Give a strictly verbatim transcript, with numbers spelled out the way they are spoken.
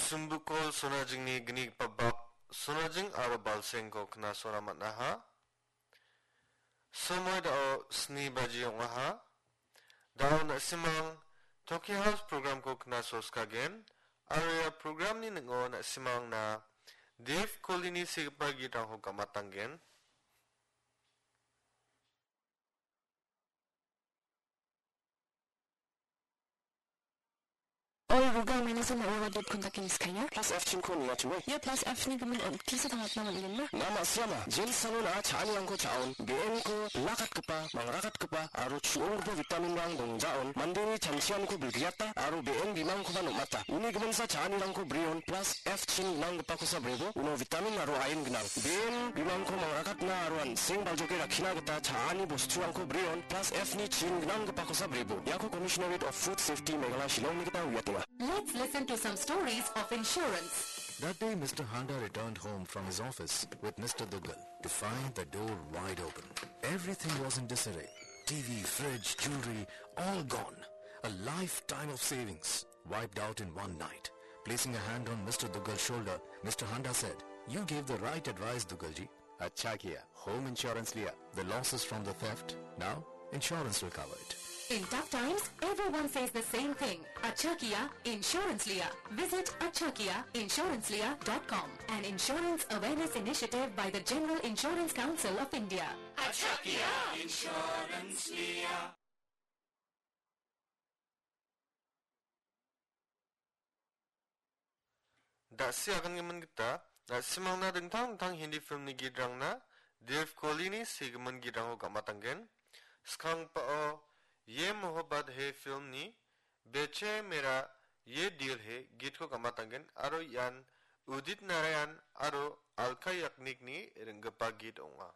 Sumbukol Sonajingni gnigipa bak Sonajing aro Balsengko knasona man·aha. Somoi dao sni baji ong·aha. Dao na·simang Toki House programko knasoskagen, aro ia programni ning·o na·simangna Dev Kolini segipa gitrangko gamatanggen. Oi, Google, maina sama ua dot contact-ni skanya. Plus F chinko niatue. Ia plus F-ni gimin on tisa tangatna man·genna. Nama siama, jensangona cha·anirangko cha·on, be·enko lakatgipa, mangrakatgipa, aro chu·onggipa vitaminrang dongjaon, mandeni chanchianiko bilgriata, aro be·en bimangkoba nom·ata. Uni giminsa cha·anirangko brion, plus F chin gnanggipakosa brebo, uno vitamin aro iron gnang. Be·en bimangko mangrakatna aro an·seng baljoke rakkina gita cha·ani bosturangko brion, plus F-ni chin gnanggipakosa brebo. Iako Commissionerate of Food Safety Meghalaya Shillongni gita uiatenga. Let's listen to some stories of insurance. That day, Mister Handa returned home from his office with Mister Duggal to find the door wide open. Everything was in disarray. T V, fridge, jewelry, all gone. A lifetime of savings wiped out in one night. Placing a hand on Mister Duggal's shoulder, Mister Handa said, "You gave the right advice, Duggalji." Achha kiya, home insurance liya. The losses from the theft, now insurance will cover it. In tough times, everyone says the same thing. Achha kiya, insurance liya. Visit achha kiya insurance liya dot com, an insurance awareness initiative by the General Insurance Council of India. Achha kiya, insurance liya. Da·si agangimin gita, na·simangna dingtang dingtang Hindi filmni gitrangna Dev Kolini segimin gitrangko gamatanggen. Skangpao Ye Mohabbat Hai filmni Beche Mera Ye Dil Hai gitko gamatanggen aro ian Udit Narayan aro Alka Yagnikni ringgipa git ong·a.